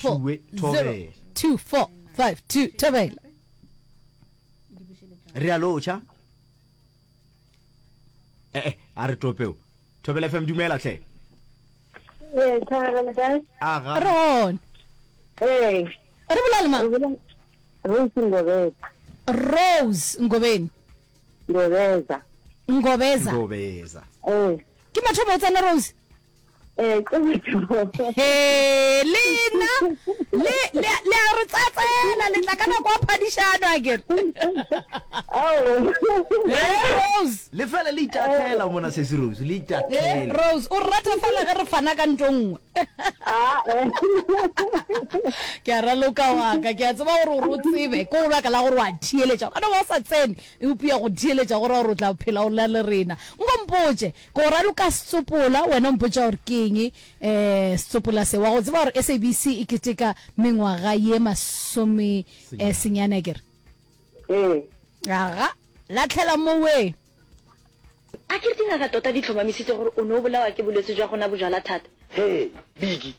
Triple Tšue, 0 thobela. 2 4 5 2 thobela. Re a lotšha. Eh eh, a re topeo. Thobela FM dumela hle. Ee, thobela le kae? Aga. Re gona. Ee. Re bolela le mang? Re bolela Rose Ngobeza. Rose Ngobeni. Ngobeza. Ngobeza. Ngobeza. Ee. Ke mathomo o tsena Rose? Ee, ke mathomo. He, lena le le le a re tsatsela le tla ka nako ya phadišano a kere. Ao. Ee, Rose. Le fela le itatlhela mona sesi Rose, le Ee, itatlhela. Rose, o rata fela ge re fana ka nto nngwe. Ah, eh. Ke a raloka wa ka, ke a tseba gore gore o tsebe, ke go baka la gore wa theeletša. O ka no ba o sa tsene, eupša go theeletša go ra gore o tla phela o na le rena. Nko mpotše, ke go raloka setsopola, wena o mpotša gore ke eng um setsopola se. Wa go tseba gore SABC e keteka mengwaga ye masome eh, senyane akere? Ee. Aga, lahlela mowee. A ke re dingaka tota di tlhomamisitse gore o ne o bolawa ke bolwetse jwa go nwa bojalwa thata? Hee, Biggie,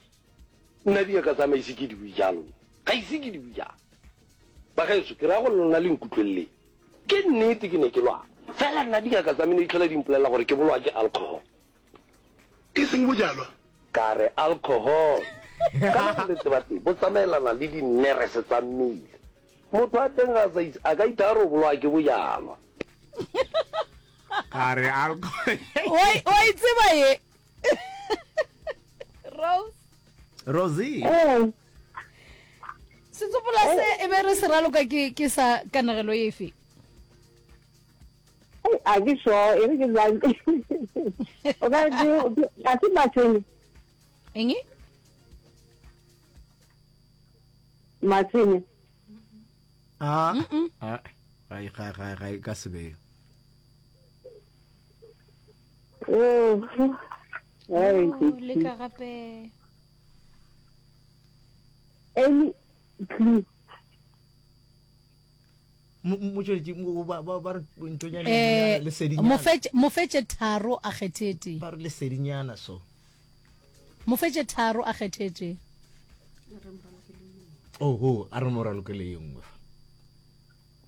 nna dingaka tsa me ise ke di bue jalo nna. Ga ise ke di bue jalo. Bagaetsho, ke raya gore lona le nkutlweleleng. Ke nnete ke ne ke lwala. Fela nna dingaka tsa me ne di tlhola di mpolelela gore ke bolawa ke alcohol. E seng bojalwa? Ka re, Alcohol! Kana bolwetse ba teng bo tsamaelana le dinerese tsa mmele. Motho a teng ga a sa itse, a ka ithaya gore o bolawa ke bojalwa. Ka re alcohol. Wa wa e tseba ye? Rose. Rosie. Ee. Setsopola se e be re se raloka ke ke sa kanegelo efe? A ke sure, e re ke zame. O ka re ke ga se matshwenye. Eng? Matshwenye. Ah. Ah. Ga ga ga ga ka se be. Oh. Ai, leka gape. Any clue? Motšweletši ba ba ba re ntonyana Eh, lesedinyana. mofetše mofetše tharo a kgethe tee. Ba re lesedinyana so. Mofetše tharo a kgethe tee. Oho, a re mo ralokele ye nngwe fa.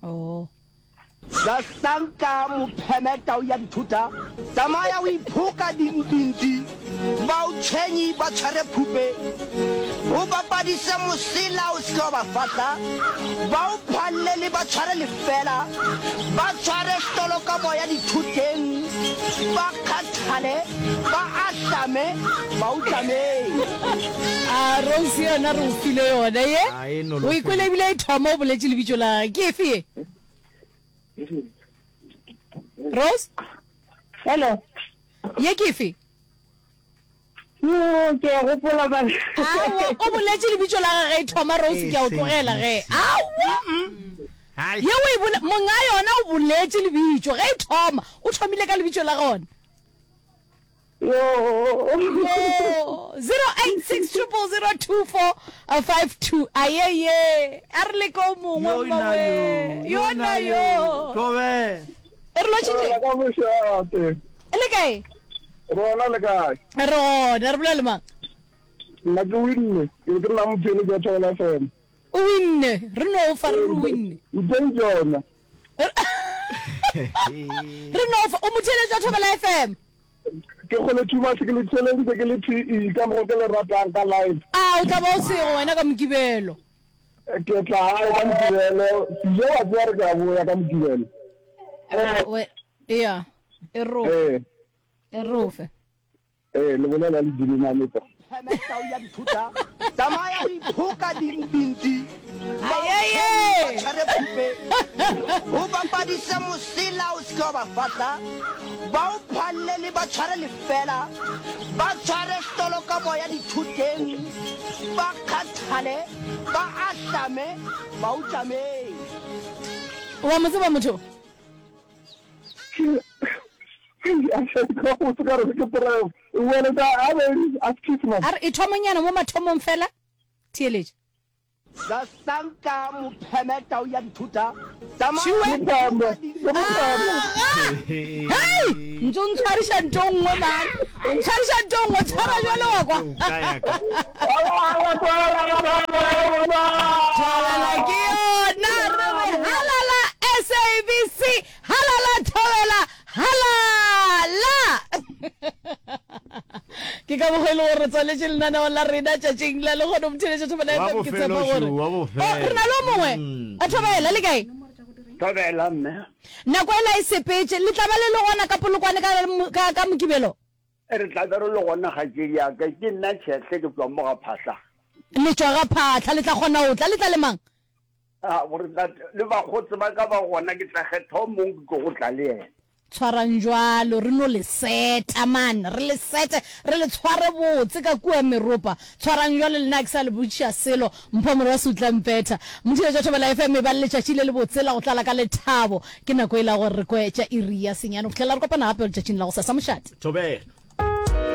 Oh. Sasanka mopheme tau ya dithota, tsamaya o iphoka dimpimpi, ba o tshwenyi ba tshware phupe, o bapadise mosela o se ke wa ba fahla, ba o phallele ba tshware lefela, ba tshware setolo ka moya dithoteng, ba kgathale, ba ahlame, ba o tlameng. A Rose yona re o file yona ye? A e O nolofele. e kwele ebile e thoma o boletše lebitso la gage. Ke efe ye? Rose? Hello. Ye ke efe? Yo, ke a gopola ba. Aowa, o boletše lebitso la gage e thoma Rose ke a o tlogela ge. Aowa. Ye o e bole monga yona o boletše lebitso ge e thoma, o thomile ka lebitso la gona. Yo. Yo, 086 0002452. Ayeye, a re leke o mongwe Yo na mmawe. yo, Yo na yo. Thobela. E re lotšhitše. Ka mošate. E le kae? Rona le kae? Re gona, re bolela le mang? Nna ke winne, ke be ke nna motheeletši wa Thobela FM. O winne, re no fa re re o winne. Mpeng tšona. Re no fa, o motheeletši wa Thobela FM. Ke kgole too much ke le theeleditše ke le PE ka mokgo ke le ratang ka live. A o tla ba o sego wena ka Mokibelo? Ke tla gae ka Mokibelo, Sijo wa tseba re ke a boya ka Mokibelo. Ea, e rofe. E rofe. Ee, le bolela le Jimmy Mametsa. Pheme tau ya dithota, tsamaya o iphoka dimpintsi, ba o Ayeye! ba tshware phupe, o bapadise mosela o se ke wa ba fahla, ba o phallele ba tshware lefela, ba tshware setolo ka moya dithoteng, ba kgathale, ba ahlame, ba o tlameng. Wa mo tseba motho? A re e thomonyana mo mathomong fela. Theeletša. Sasanka mopheme tau ya dithota, Tšhiwe. Hei! Ntse o ntshwariša nto nngwe man. O ntshwariša nto nngwe, tshwara jwale wa kwa. le gore re tswaletše lenaneo la rena tšatšing la lehono motheeletša Thobela Wa FM ke bofelo tshepa gore šo, wa Oh, bofelo. re na le o mongwe a Thobela le kae Thobela mme. nako ela e sepetše le tla ba le le gona ka Polokwane ka, ka, ka Mokibelo Re tla be re le gona kgaetšedi ya ka. Ke nna Tšhehle ke tšwa mo ga Phahla. Le tšwa ga Phahla le tla kgona go tla le tla le mang? A gore tla le bakgotsi ba ka ba gona ke tla kgetha o mongwe ke tlo go tla le yena. Tshwarang jwalo, re no le seta man, re le sete, re le tshware botse ka kua meropa. Tshwarang jwalo le nna ke sa le botšiša selo, Mpho Morwasi o tla mpetha. Mothiletša Thobela FM e ba le letšatši le lebotse la go tlala ka lethabo. Ke nako e la gore re kwe tša iri ya senyane go fihlela re kopana gape letšatšing la gosasa. Mošate. Thobela.